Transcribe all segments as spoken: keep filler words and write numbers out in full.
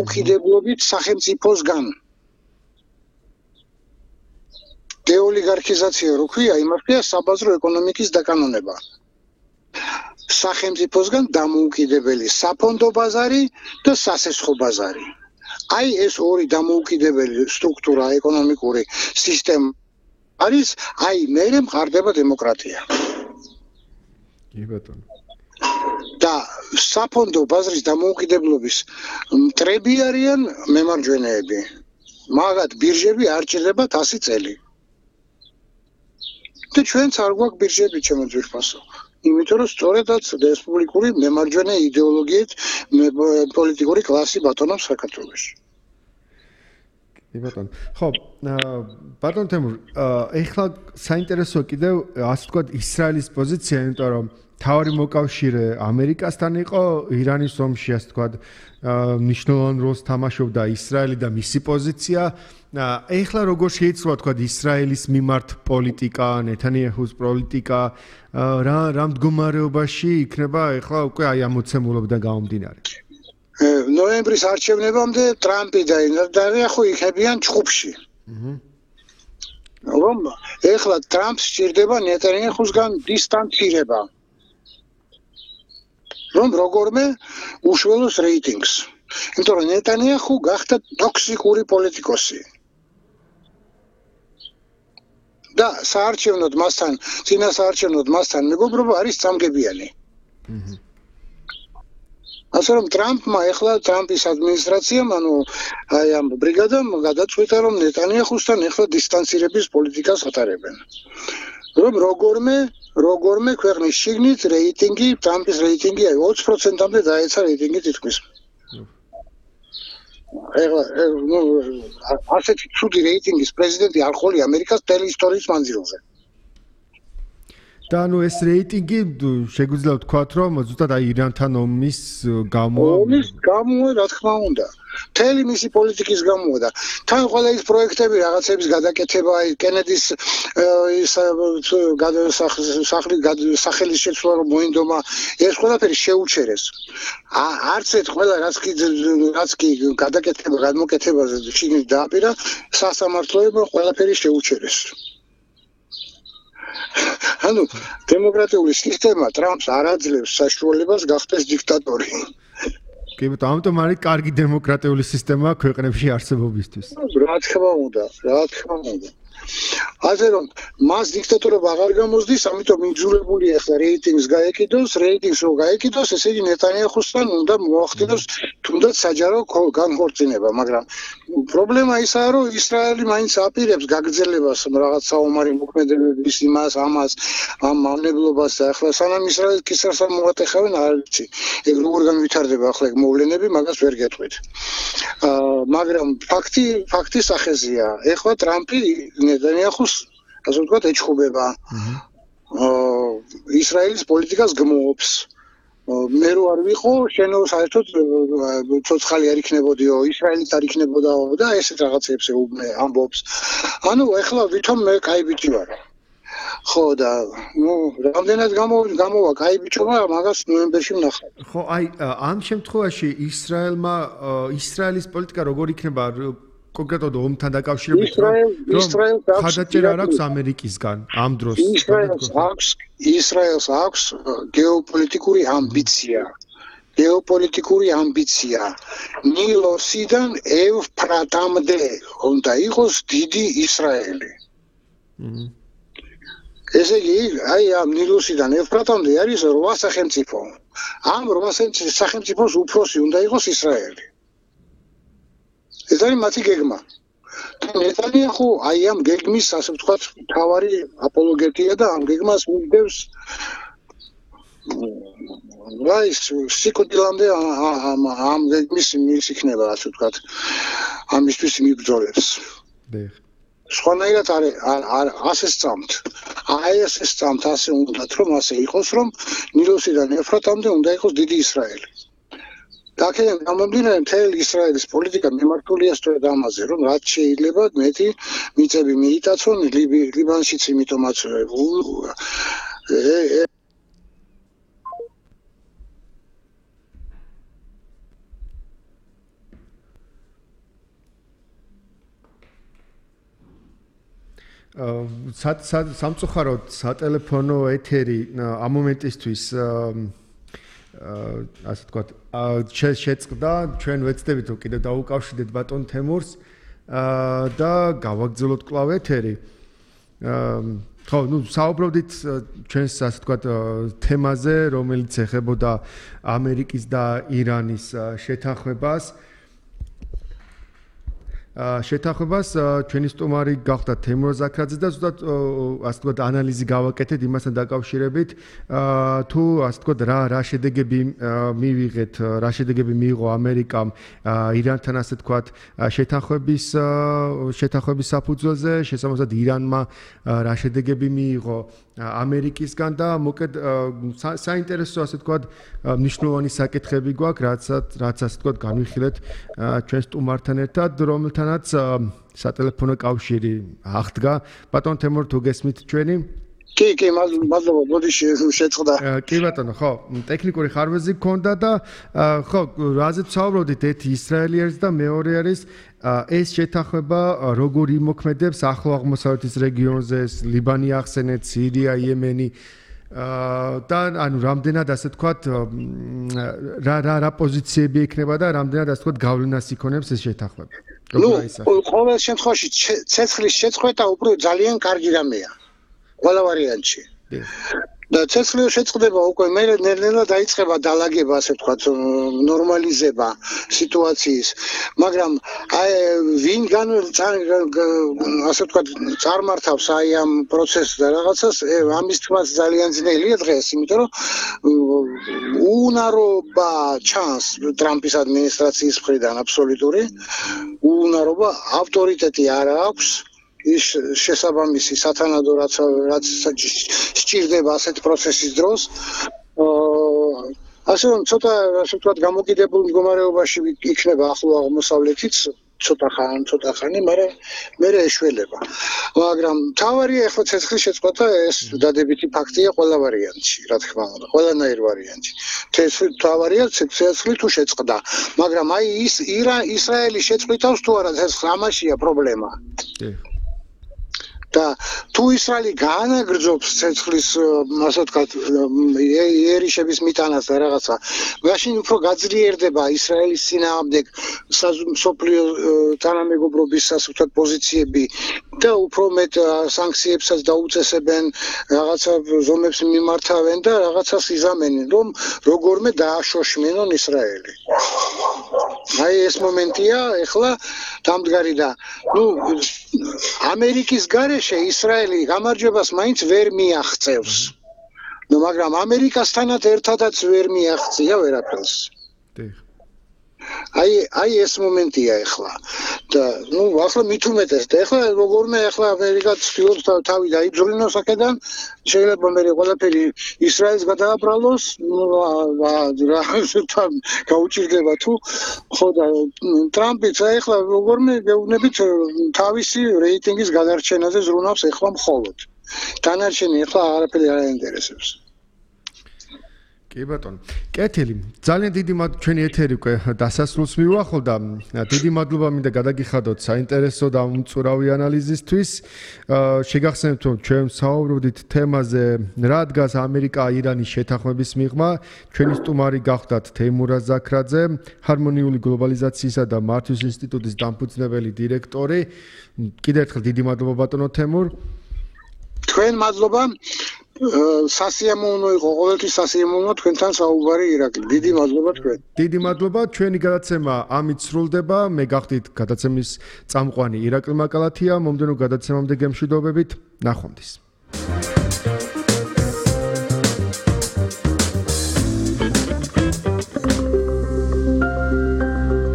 უკიდებლობით სახელმწიფოსგან. დეოლიგარქიზაცია რო ქვია, იმართია საბაზრო ეკონომიკის დაკანონება. სახელმწიფოსგან დამოუკიდებელი საფონდო ბაზარი და სასესხო ბაზარი. აი ეს ორი დამოუკიდებელი სტრუქტურა ეკონომიკური სისტემა არის, აი მერე მყარდება დემოკრატია. კი ბატონო. და საფონდო ბაზრის დამოუკიდებლობის მტრები არიან მემარჯვენეები. მაგათ ბირჟები არ ჭირდებათ ასი წელი. და ჩვენც არ გვაქვს ბირჟები ჩემო ძვირფასო. იმიტომ რომ სწორედაც რესპუბლიკური მემარჯვენე იდეოლოგიით პოლიტიკური კლასი ბატონობს საქართველოში. კი ბატონო. ხო, ბატონ თემურ, ეხლა საინტერესოა კიდევ ასე ვთქვათ ისრაელის პოზიცია, იმიტომ რომ თავარი მოკავშირე ამერიკასთან იყო ირანის ომში, ასე ვთქვათ, მნიშვნელოვან როლს თამაშობდა ისრაელი და მისი პოზიცია. ეხლა როგორ შეიძლება ვთქვათ ისრაელის მიმართ პოლიტიკა, ნეთანიაჰუს პოლიტიკა, რა რა მდგომარეობაში იქნება ეხლა უკვე აი ამ მოცემულობიდან გამომდინარე. ნოემბრის არჩევნებამდე ტრამპი და ნეტანიაჰუ იქებიან ჩხუბში. რომ ეხლა ტრამპს სჭირდება ნეტანიაჰუსგან დისტანცირება. რომ როგორმე უშველოს რეიტინგს. იმიტომ რომ ნეტანიაჰუ გახდა ტოქსიკური პოლიტიკოსი. და საარჩევნოდ მასთან, წინა საარჩევნოდ მასთან მეგობრობა არის წამგებიანი. ასე რომ ტრამპმა ეხლა ტრამპის ადმინისტრაციამ, ანუ აი ამ ბრიგადამ გადაწყვიტა, რომ ნეტანიაჰუსთან ეხლა დისტანცირების პოლიტიკას ატარებენ. რომ როგორმე როგორმე ქვეყნის შიგნით რეიტინგი, ტრამპის რეიტინგი აი ოცი პროცენტამდე დაეცა რეიტინგი თითქმის. ეხლა ნუ ასეთი ცუდი რეიტინგის პრეზიდენტი არ ხოლია ამერიკას მთელი ისტორიის მანძილზე. და ანუ ეს რეიტინგი შეგვიძლია ვთქვათ, რომ ზუსტად აი ირანთან ომის გამო ომის გამო რა თქმა უნდა. მთელი მისი პოლიტიკის გამოა და თან ყველა ის პროექტები რაღაცების გადაკეთება, აი კენედის ის სახელის შეცვლა რომ მოინდომა, ეს ყველაფერი შეუჩერეს. არც ერთ ყველა რაც კი რაც კი გადაკეთება, გადმოკეთებაზე შიგნით დააპირა, სასამართლოებმა ყველაფერი შეუჩერეს. ანუ დემოკრატიული სისტემა ტრამპს არ აძლევს საშუალებას გახდეს დიქტატორი. კი ბატონო, ამიტომ არის კარგი დემოკრატიული სისტემა ქვეყნებში არსებობისთვის. რა თქმა უნდა, რა თქმა უნდა. ასე რომ მას დიქტატორობა აღარ გამოსდის, ამიტომ იძულებულია ახლა რეიტინგს გაეკიდოს, რეიტინგს რო გაეკიდოს, ესე იგი ნეტანიაჰუსთან უნდა მოახდინოს თუნდაც საჯარო განქორწინება, მაგრამ პრობლემა ისაა, რომ ისრაელი მაინც აპირებს გაგრძელებას რაღაც საომარი მოქმედებების იმას, ამას, ამ მავნებლობას და ახლა სანამ ისრაელს კისერს არ მოატეხავენ, არ ვიცი. ეგ როგორ განვითარდება ახლა ეგ მოვლენები, მაგას ვერ გეტყვით. მაგრამ ფაქტი ფაქტი სახეზია. ეხლა ტრამპი ნეტანიაჰუს ასე ვთქვათ ეჩხუბება. ისრაელის პოლიტიკას გმობს. მე რო არ ვიყო, შენო საერთოდ ცოცხალი არ იქნებოდიო, ისრაელიც არ იქნებოდაო და ესეთ რაღაცებს ამბობს. ანუ ეხლა ვითომ მე კაი ბიჭი ვარ. ხო და ნუ რამდენად გამოვა კაი ბიჭობა, მაგას ნოემბერში ვნახავ. ხო, აი ამ შემთხვევაში ისრაელმა ისრაელის პოლიტიკა როგორ იქნება კონკრეტულად ომთან დაკავშირებით, რომ ხადაჭერა არ აქვს ამერიკისგან ამ დროს. ისრაელს აქვს ისრაელს აქვს გეოპოლიტიკური ამბიცია. გეოპოლიტიკური ამბიცია. ნილოსიდან ევფრატამდე უნდა იყოს დიდი ისრაელი. ესე იგი, აი ამ ნილოსიდან ევფრატამდე არის რვა სახელმწიფო. ამ რვა სახელმწიფოს უფროსი უნდა იყოს ისრაელი. ეს არის მათი გეგმა. ნეტანიაჰუ აი ამ გეგმის, ასე ვთქვათ, მთავარი აპოლოგეტია და ამ გეგმას მიგდევს აი სიკვდილამდე ამ გეგმის მის იქნება, ასე ვთქვათ, ამისთვის მიბრძოლებს. სხვანაირად არ ასე სწამთ. აი ასე სწამთ, ასე უნდათ, რომ ასე იყოს, რომ ნილოსიდან ევფრატამდე უნდა იყოს დიდი ისრაელი. აქედან გამომდინარე მთელი ისრაელის პოლიტიკა მიმართულია სწორედ ამაზე, რომ რაც შეიძლება მეტი მიწები მიიტაცონ ლიბანშიც, იმიტომაც სამწუხაროდ სატელეფონო ეთერი ამ მომენტისთვის ასე ვთქვათ, შეწყდა, ჩვენ ვეცდებით რომ კიდევ დაუკავშირდეთ ბატონ თემურს და გავაგრძელოთ კვლავ ეთერი. ხო, ну, საუბრობდით ჩვენს ასე ვთქვათ თემაზე, რომელიც ეხებოდა ამერიკის და ირანის შეთანხმებას. შეთანხმებას ჩვენი სტუმარი გახდა თემურ ზაქრაძე და ზუსტად ასე ვთქვათ ანალიზი გავაკეთეთ იმასთან დაკავშირებით თუ ასე ვთქვათ რა რა შედეგები მივიღეთ, რა შედეგები მიიღო ამერიკამ ირანთან ასე ვთქვათ შეთანხმების შეთანხმების საფუძველზე, შესაბამისად ირანმა რა შედეგები მიიღო ამერიკისგან და მოკედ საინტერესო ასე ვთქვათ მნიშვნელოვანი საკითხები გვაქვს, რაც რაც ასე ვთქვათ განვიხილეთ ჩვენ სტუმართან ერთად, რომელთანაც სატელეფონო კავშირი აღდგა. ბატონ თემურ, თუ გესმით ჩვენი? კი, კი, მადლობა, მოდი შეწყდა. კი ბატონო, ხო, ტექნიკური ხარვეზი გქონდა და ხო, რაზეც ვსაუბრობდით, ერთი ისრაელი არის და მეორე არის ეს შეთანხმება როგორ იმოქმედებს ახლო აღმოსავლეთის რეგიონზე, ლიბანი ახსენეთ, სირია, იემენი და ანუ რამდენად ასე ვთქვათ რა რა რა პოზიციები იქნება და რამდენად ასე ვთქვათ გავლენას იქონებს ეს შეთანხმება. ნუ ყოველ შემთხვევაში ცეცხლის შეწყვეტა უფრო ძალიან კარგი რამეა ყველა ვარიანტში. და ცეცხლის შეწყვეტა უკვე მე ნელ-ნელა დაიწყება დალაგება ასე ვთქვათ ნორმალიზება სიტუაციის, მაგრამ აი ვინ გან ასე ვთქვათ წარმართავს აი ამ პროცესს და რაღაცას ამის თქმაც ძალიან ძნელია დღეს, იმიტომ რომ უუნარობა ჩანს ტრამპის ადმინისტრაციის მხრიდან აბსოლუტური უუნარობა, ავტორიტეტი არ აქვს ის შესაბამისი სათანადო რაც რაც სჭირდება ასეთ პროცესის დროს. ასე რომ ცოტა ასე ვთქვათ გამოკიდებულ მდგომარეობაში იქნება ახლო აღმოსავლეთიც ცოტა ხანი, ცოტა ხანი, მაგრამ მე ეშველება. მაგრამ თავარია ახლა ცეცხლის შეწყვეტა ეს დადებითი ფაქტია ყველა ვარიანტში, რა თქმა უნდა, ყველანაირ ვარიანტში. ცეცხლი თავარია ცეცხლი თუ შეწყდა, მაგრამ აი ის ისრაელი შეწყვეტავს თუ არა ცეცხლს, ამაშია პრობლემა. და თუ ისრაელი გაანაგრძობს ცეცხლის ასე ვთქვათ ერიშების მიტანას და რაღაცა, მაშინ უფრო გაძლიერდება ისრაელის წინააღმდეგ მსოფლიო თანამეგობრობის ასე ვთქვათ პოზიციები და უფრო მეტ სანქციებსაც დაუწესებენ, რაღაცა ზომებს მიმართავენ და რაღაცას იზამენენ, რომ როგორმე დააშოშმინონ ისრაელი. აი ეს მომენტია ეხლა დამდგარი და ნუ ამერიკის გარეშე ისრაელი გამარჯვებას მაინც ვერ მიაღწევს. ნუ მაგრამ ამერიკასთანაც ერთადაც ვერ მიაღწია ვერაფერს. აი აი ეს მომენტია ეხლა. და ნუ ახლა მით უმეტეს და ეხლა როგორმე ეხლა ამერიკა ცდილობს თავი დაიბრძოლინოს აქედან, შეიძლება მე ყველაფერი ისრაელს გადააბრალოს, რა თან გაუჭირდება თუ ხო და ტრამპიც ეხლა როგორმე გეუბნებით თავისი რეიტინგის გადარჩენაზე ზრუნავს ეხლა მხოლოდ. დანარჩენი ეხლა არაფერი არ აინტერესებს. კი ბატონო. კეთილი. ძალიან დიდი მადლობა ჩვენი ეთერი უკვე დასასრულს მივუახლოვდა. დიდი მადლობა მინდა გადაგიხადოთ საინტერესო და უმწურავი ანალიზისთვის. შეგახსენებთ რომ ჩვენ საუბრობდით თემაზე რა დგას ამერიკა-ირანის შეთანხმების მიღმა. ჩვენი სტუმარი გახდათ თემურაზ ზაქრაძე, ჰარმონიული გლობალიზაციისა და მართვის ინსტიტუტის დამფუძნებელი დირექტორი. კიდევ ერთხელ დიდი მადლობა ბატონო თემურ. თქვენ მადლობა. სასიამოვნო იყო, ყოველთვის სასიამოვნო თქვენთან საუბარი ირაკლი. დიდი მადლობა თქვენ. დიდი მადლობა. ჩვენი გადაცემა ამით სრულდება. მე გახდით გადაცემის წამყვანი ირაკლი მაკალათია. მომდევნო გადაცემამდე გემშვიდობებით. ნახვამდის.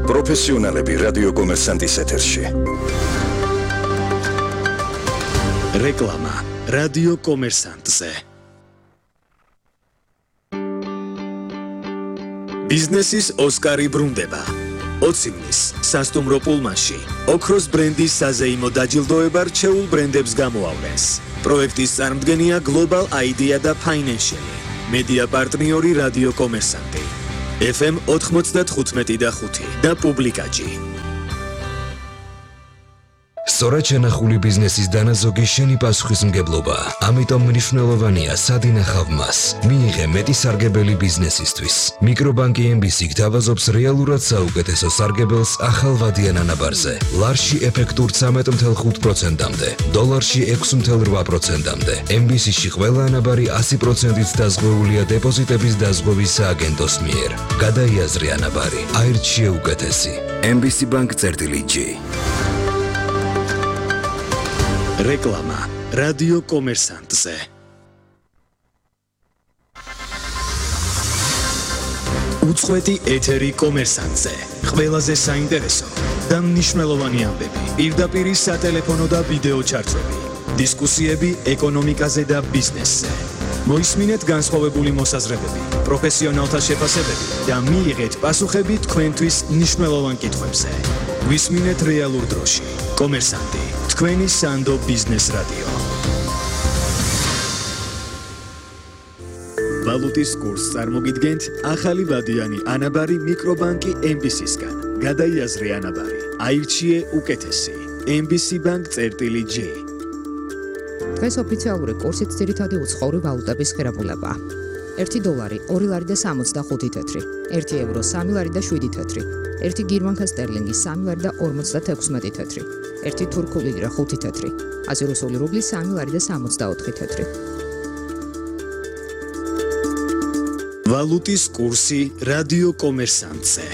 პროფესიონალები რადიო კომერსანტის ეთერში. რეკლამა რადიო კომერსანტზე. ბიზნესის ოსკარი ბრუნდება. ოცივნის სასტუმრო პულმანში ოქროს ბრენდის საზეიმო დაჯილდოება რჩეულ ბრენდებს გამოავლენს. პროექტის წარმომადგენია Global Idea და Financial. მედია პარტნიორი რადიო კომერსანტი. ეფ ემ ოთხმოცდათხუთმეტი და ხუთი და პუბლიკაჯი. სწორად შენახული ბიზნესის დანაზოგი შენი პასუხისმგებლობაა. ამიტომ მნიშვნელოვანია სად ინახავ მას. მიიღე მეტი სარგებელი ბიზნესისთვის. მიკრობანკი ემ ბი სი გთავაზობს რეალურად საუკეთესო სარგებელს ახალ ვადიან ანაბარზე. ლარში ეფექტურ ცამეტ ათი პროცენტამდე, დოლარში ექვსი ათი რვა პროცენტამდე. ემ ბი სი-ში ყველა ანაბარი ასი პროცენტით დაზღვეულია დეპოზიტების დაზღვევის სააგენტოს მიერ. გადაიაზრე ანაბარი, აირჩიე უკეთესი. ემ ბი სი Bank წერტილი ჯი. რეკლამა რადიო კომერსანტზე. უწყვეტი ეთერი კომერსანტზე. ყველაზე საინტერესო და მნიშვნელოვანი ამბები. პირდაპირ სატელეფონო და ვიდეო ჩარტები. დისკუსიები ეკონომიკაზე და ბიზნესზე. მოისმინეთ განსხვავებული მოსაზრებები, პროფესიონალთა შეფასებები და მიიღეთ პასუხები თქვენთვის მნიშვნელოვან კითხვებზე. ვისმინეთ რეალურ დროში. კომერსანტი, თქვენი სანდო ბიზნეს რადიო. ვალუტის კურსს წარმოგიდგენთ ახალი ვადიანი ანაბარი მიკრობანკი ემ ბი სი-სგან. გადაიაზრე ანაბარი, აირჩიე უკეთესი. ემ ბი სი Bank წერტილი ჯი. დღეს ოფიციალური კურსით ძირითადი უცხოური ვალუტების ღირებულებაა. ერთი დოლარი ორი ლარი და სამოცდახუთი თეთრი, ერთი ევრო სამი ლარი და შვიდი თეთრი, ერთი გერმანკა სტერლინგი სამი ლარი და ორმოცდათექვსმეტი თეთრი, ერთი თურქული ლირა ხუთი თეთრი, აზი რუსული რუბლი სამი ლარი და სამოცდაოთხი თეთრი. ვალუტის კურსი რადიო კომერსანტზე.